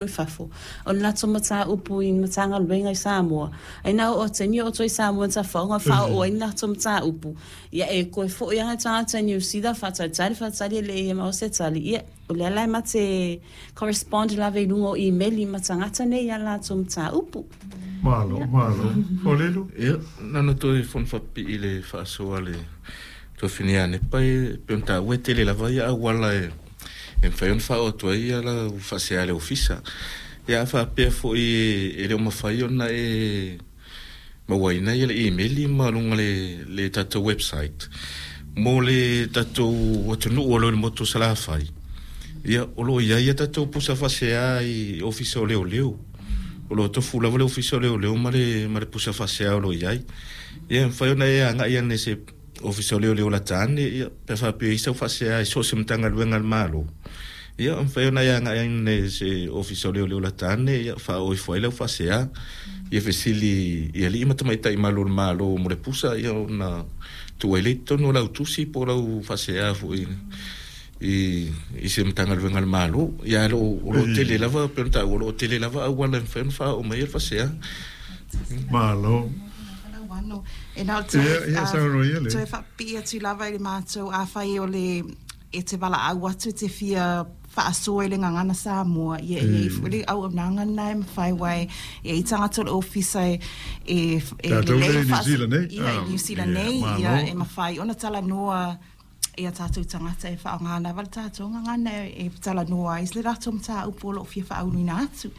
I fafo. O le latou mataupu i Matagaluega i Samoa, ai na oo atu ai ni oo i Samoa na tafaoga faaoo ai ni latou mataupu, ia e toe foi lava tagata i Niu Sila faatalitali faatalitali e le i maua se tali, ia o lea la e ma te correspond lava i luga o imeli ma tagata nei i a latou mataupu. Malo, malo. Folelu? Ia, na ona toe fono faapipii i le faasoa a le Tuafine ia Nepa, e pei ona taua e tele lava ia auala e e mafai ona faaoo atu ai lau faasea i le Ofisa. Ia a faapea foi e le o mafai ona e mauaina le imeli ma luga le le tatou website mo le tatou atunuu o lo o i le motu o Salafai, ia o lo o i ai a tatou pusa faasea i Ofisa o Leoleo. O lo o tofu lava le Ofisa o Leoleo ma le ma le pusa faasea o lo o i ai. Ia e mafai ona e agai ane i se Ofisa o Leoleo lata ane, ia, pe a faapea e i ai sau faasea i so o se Matagaluega a le Malo, ia, e mafai ona e agai ane i se Ofisa o Leoleo lata ane, ia, faaoo ifo ai lau faasea. Ia fesili i alii ma tamaitai malu o le Malo mo le pusa, ia, ona tuu ai lea i totonu o lau tusi po o lau faasea foi i, i se Matagaluega a le Malo. Ia, ae o lo o tele lava, pei ona taua, o lo o tele lava auala e mafai ona faaoo mai ai le faasea. Malo. E na o le toe faapipii atu lava i le matou, afai o le e te valaau atu e te fia faasoa i le gagana Samoa, ia e i ai foi le auaunaga lena e mafai, aua e i ai tagata o le ofisa e e lelei ia i Niu Sila nei, ia e mafai ona talanoa ia tatou tagata e faaaoga lava le tatou gagana e talanoa ai le latou mataupu o lo o fia faauluina atu.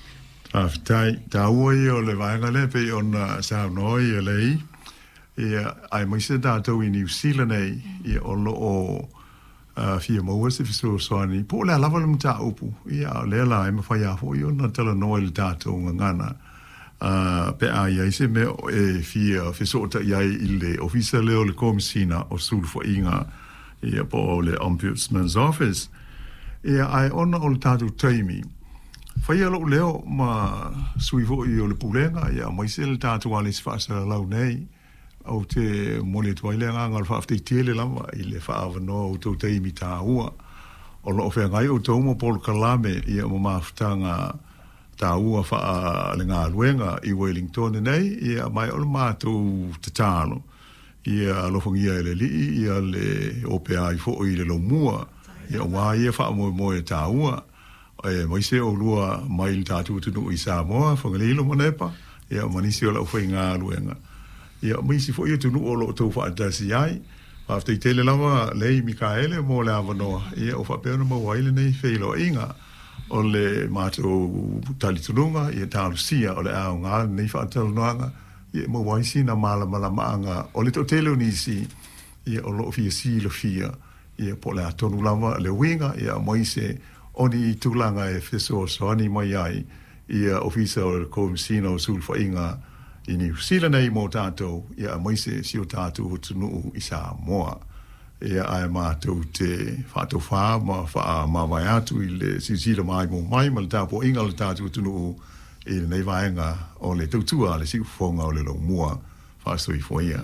Faafetai. Taua ia o le vaega lea pei ona saunoa ia Lei, ia, aemaise tatou i Niu Sila nei, ia, o lo o fia maua se fesoasoani, po o le a lava le mataupu, ia, a o lea la e mafai lava foi ona talanoa i le tatou gagana. Ā, pe a i ai se mea e fia fesootai ai i le Ofisa lea o le Komesina o Sulufaiga, ia, po o le Ombudsman's Office. Ia, ae ona o le tatou taimi, faia lou leo ma sui foi o le Pulega, ia, aemaise le tatou alisi faasalalau nei, ou te momoli atu ai le agaga o le faafetai tele lava i le faaavanoa o outou taimi taua. O lo o feagai outou ma polokalame, ia, ma mafutaga taua faalegaluega i Wellington nei, ia, ma o le matou tatalo, ia alofagia e le Alii ia le opea ai foi i le lomua, ia aua ia faamoemoe taua, aemaise oulua mai le tatou atunuu i Samoa, Fagalilo ma Nepa, ia ma nisi o le aufaigaluega, ia ma isi foi atunuu o lo o outou faatasi ai. Faafetai tele lava Lei Mikaele mo le avanoa, ia ua faapea ona maua ai lenei feiloaiga. O le matou talitonuga, ia talosia o le aoga lenei faatalanoaga, ia e maua ai sina malamalamaaga o le toatele o nisi, ia o lo o fia silafia, ia po o le a tonu lava le uiga, ia aemaise o ni tulaga e fesoasoani mai ai ia Ofisa o le Komesina o Sulufaiga i Niu Sila nei mo tatou, ia aemaise si o tatou atunuu i Samoa. Ia, ae matou te faatofā ma faamavae atu i le silasila maimoa mai ma le tapuaiga a le tatou atunuu i lenei vaega o le tautua a le siufofoga o le Lomua. Faasoifua ia.